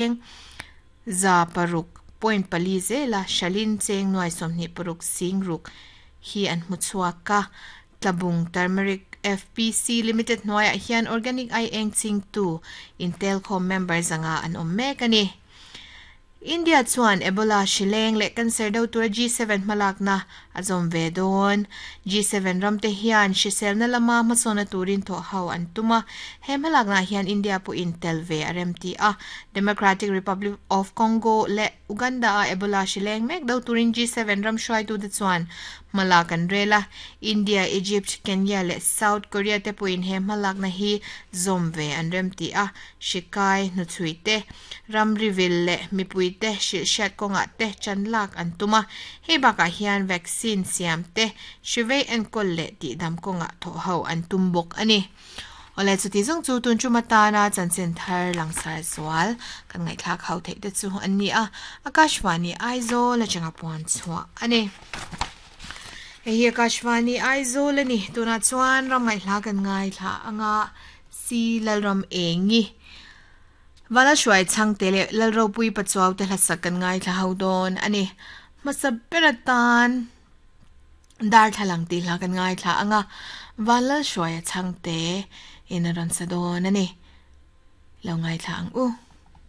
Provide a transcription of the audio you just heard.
Cheng 600.4 zela hralhin cheng 26 sing ruk hi an hmu chhuak a. Tlabung Turmeric FPC Limited hnuaiah hian organic ai eng chingtu intelkhawm member 500 an awm mek a ni. India chuan Ebola hri leng leh cancer do tura G7 hmalakna a zawm ve dawn. G7 ramte hian hriselna lama hmasawnna turin thawh ho an tum a, he hmalaknaah hian India pawhin tel ve a remti a. Democratic Republic of Congo leh Uganda-a Ebola hri leng mek do turin G7 ram hruaitute chuan hmalak an rel a. India, Egypt, Kenya leh South Korea te pawhin he hmalakna hi zawm ve an remti a. Hri kai hnuchhui te, ramri vil leh mipuite hrilh hriat kawngah te chan lak an tum a, hei bakah hian vaccine siam te, hri vei enkawl leh tihdam kawngah thawh ho an tum bawk a ni. Awle chuti zawng chu tun tum atana chanchin thar langsar zual kan ngaihthlak ho theih te chu an ni a, Akashvani Aizawl atanga puan chhuah a ni. Hei hi Akashvani Aizawl a ni, tunah chuan ram ngaihhla kan ngaithla anga Si Lalram Engi. Vala hruai chhangte leh Lalropui Pachuau te hlasak kan ngaithla ho dawn a ni. Hmasa ber atan darthlalang tih hla kan ngaithla ang a, Vanlalhruaia chhangte in a rawn sa dawn a ni. Lo ngaithla ang u.